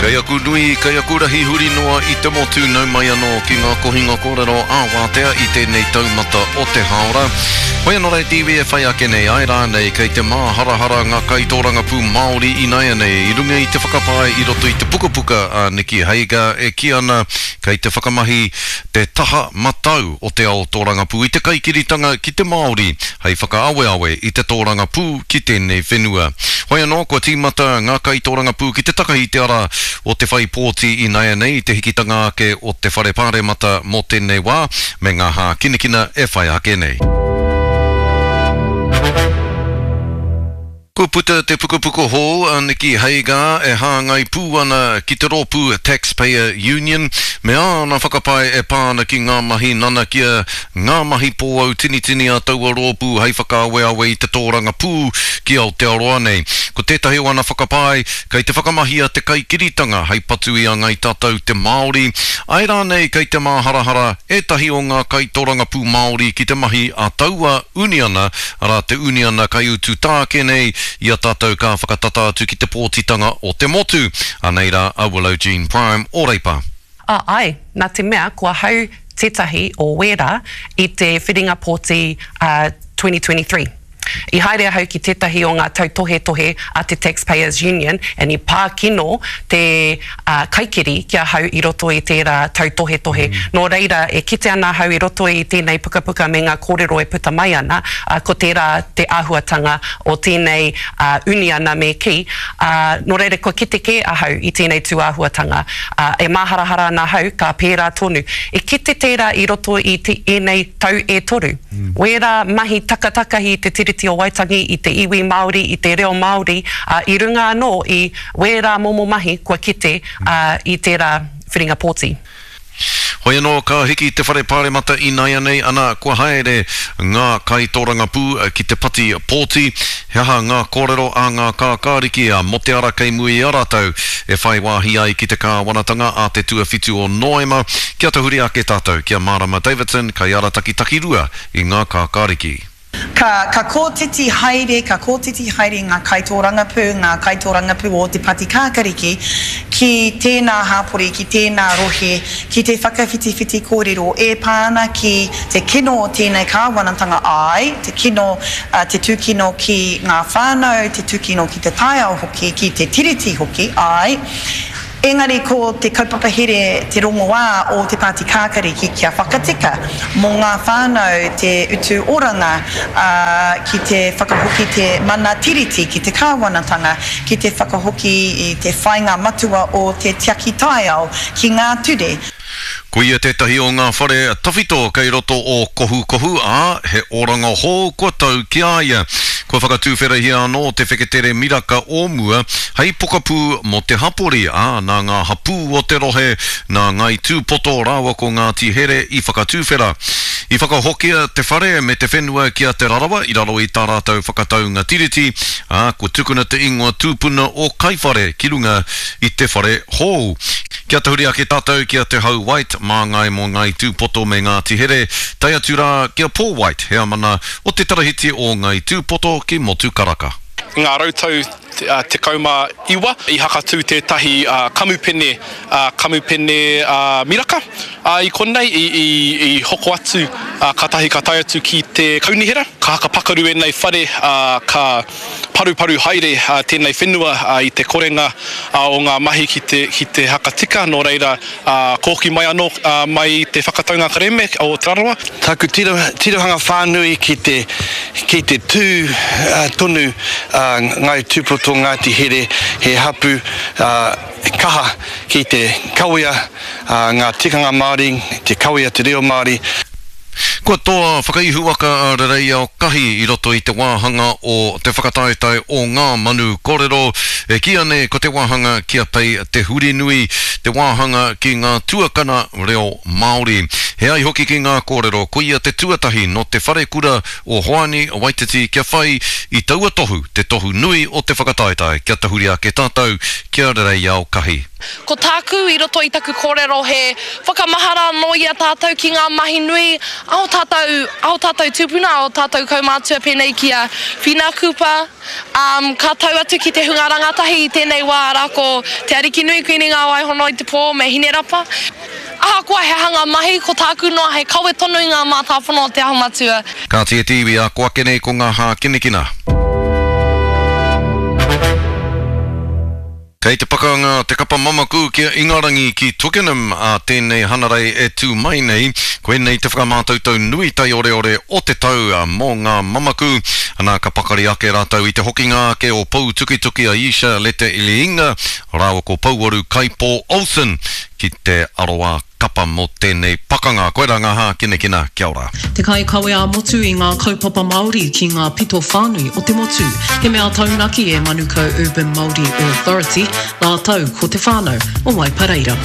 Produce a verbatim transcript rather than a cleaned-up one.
Kei aku nui, kei aku rahi huri noa i te motu nau mai anō ki ngā kohinga kōrero ā-wātea i tēnei taumata o te hāora. Hoi anō rā te iwi e whai ake nei, āe rānei kei te māharahara ngā kaitōrangapū Māori ināianei i runga i te whakapae i roto i te pukapuka a Nicky Hager e kī ana kei te whakamahi te taha matau o te ao tōrangapū i te kaikiritanga ki te Māori hei whakaaweawe i te tōrangapū ki tēnei whenua. Hoi anō, kua tīmata ngā kaitōrangapū ki te takahi i te ara o te whai pōti ināianei i te hikitanga ake o te Whare Pāremata mō tēnei wā me ngā hākinakina e whai ake nei. Kua puta te pukapuka hou a Nicky Hager e hāngai pū ana ki te rōpū Taxpayer Union me āna whakapae e pā ana ki ngā mahi nanakia, ngā mahi pōautinitini a taua rōpū hei whakaaweawe i te tōrangapū ki Aotearoa nei. Ko tētahi o ana whakapae, kei te whakamahia te kaikiritanga hei patu i a Ngai Tatau te Māori, āe rānei kei te māharahara ētahi o ngā kaitorangapū Māori ki te mahi a taua uniana, arā te uniana kaiutu tāke nei i a tātou ka whakatata atu ki te pōtitanga o te motu. Anei rā a Willow Jean Prime o Reipa. A, āe, nā te mea ko ahau tētahi o wērā i te whiringa pōti a twenty twenty-three. I haere ahau ki tētahi o ngā tautohetohe a te Taxpayers Union and i pā kino te kaikiri ki ahau i roto i tērā tautohetohe. Nō reira, e kite ana ahau i roto i tēnei pukapuka me ngā kōrero e puta mai ana, ko tērā te āhuatanga o tēnei uniana me kī. Nō reira, kua kite kē ahau i tēnei tūāhuatanga. E māharahara ana ahau, ka pērā tonu. E kite tērā i roto i ēnei tau e toru. Wērā mahi takatakahi i te Tiriti o Waitangi, i te iwi Māori, i te reo Māori, i runga anō i wērā momo mahi kua kite i tērā whiringa pōti. Hoi anō ka hiki te whare pāremata ināianei ana kua haere ngā kaitōrangapū ki te pati pōti. He aha ngā kōrero a ngā kākāriki a mō te ara kei mua i a rātou e whai wāhi ai ki te kāwanatanga a te tuawhitu o Noema. Kia tahuri ake tātou ki a Marama Davidson, kaiarataki takirua i ngā kākāriki. Ka, ka kōtiti haere, ka kōtiti haere ngā kaitōrangapū, ngā kaitōrangapū o te Pati Kākariki ki tēnā hāpori, ki tēnā rohe, ki te whakawhitiwhiti kōrero e pā ana ki te kino o tēnei kāwanatanga ai, te kino, te tūkino ki ngā whānau, te tūkino ki te taiao hoki, ki te tiriti hoki, ai. Engari ko te kaupapa here te rongoā o te Pāti Kākariki kia whakatika mō ngā whānau te utu oranga, ki te whakahoki te mana tiriti ki te kāwanatanga, ki te whakahoki i te whainga matua o te tiaki taiao ki ngā ture. Ko ia tētahi o ngā whare tawhito kei roto o Kohukohu, ā, he oranga hou kua tau ki a ia. Kua whakatūwherahia anō te wheketere miraka o mua hei pokapū mō te hapori, ā, nā ngā hapū o te rohe, nā Ngai Tūpoto rāua ko Ngāti Here i whakatūwhera. I whakahokia te whare me te whenua ki a Te Rarawa i raro i tā rātou whakataunga tiriti, ā, kua tukuna te ingoa tūpuna o Kaiwhare ki runga i te whare hou. Kia tahuri ake tātou ki a Te Hau White, māngai mō Ngai Tūpoto me Ngāti Here, tae atu rā ki a Paul White, heamana o te Tarahiti o Ngai Tūpoto ki Motukaraka. I ngā rautau tekau mā iwa, i hakatū tētahi kamupene, kamupene miraka i konei, i hoko atu, kātahi ka tae atu ki te kaunihera. Ka hakapakaru ēnei whare, ka paruparu haere tēnei whenua i te korenga o ngā mahi ki te, ki te hakatika, nō reira kōki mai anō mai te whakataunga kerēme o Te Rarawa. Taku tirohanga whānui ki te, ki te tū tonu Ngai Tūpoto Ngāti Here, he hapu kaha ki te kawea ngā tikanga Māori, te kawea te reo Māori. Kua toa whakaihuwaka a Rereiao Kahi i roto i te wāhanga o te whakataetae o ngā manu kōrero, e kīia nei ko te wāhanga ki a Pei Te Hurinui, te wāhanga ki ngā tuakana reo Māori. He ai hoki ki ngā kōrero, koia te tuatahi nō te wharekura o Hoani Waititi kia whai i taua tohu, te tohu nui o te whakataetae, kia tahuri ake tātou kia Reiao Kahi. Ko tāku i roto i taku kōrero he whakamahara anō i a tātou ki ngā mahi nui a o tātou, a o tātou tūpuna, a o tātou kaumātua pēnei ki a Whina Cooper, um, ka tau atu ki te hunga rangatahi i tēnei wā arā ko Te Arikinui Kuini Ngā Waihono i te Pō me Hinerapa. Ahakoa he hanga mahi, ko tāku noa hei kawe tonu i ngā mātāpono o Te Aho Matua. Kāti e te iwi, ako ake nei ko ngā hākinakina. Kei te pakanga te kapa mamaku ki a Ingarangi ki Twickenham a tēnei hanarei e tū mai nei. Koinei te whakamātautau nui taioreore o te tau mō ngā mamaku. Ana ka pakari ake rātou i te hokinga ake o Pou Tukituki a Isha Lete Iliinga rāua ko Pouaru Kaipo Olsen ki te aroā kapa mō tēnei pakanga. Koirā ngā hākinakina, kia ora. Te kaikawe ā-motu i ngā kaupapa Māori ki ngā pito whānui o te motu. He mea taunaki e Manukau Urban Māori Authority, rātou ko te whānau o Waipareira.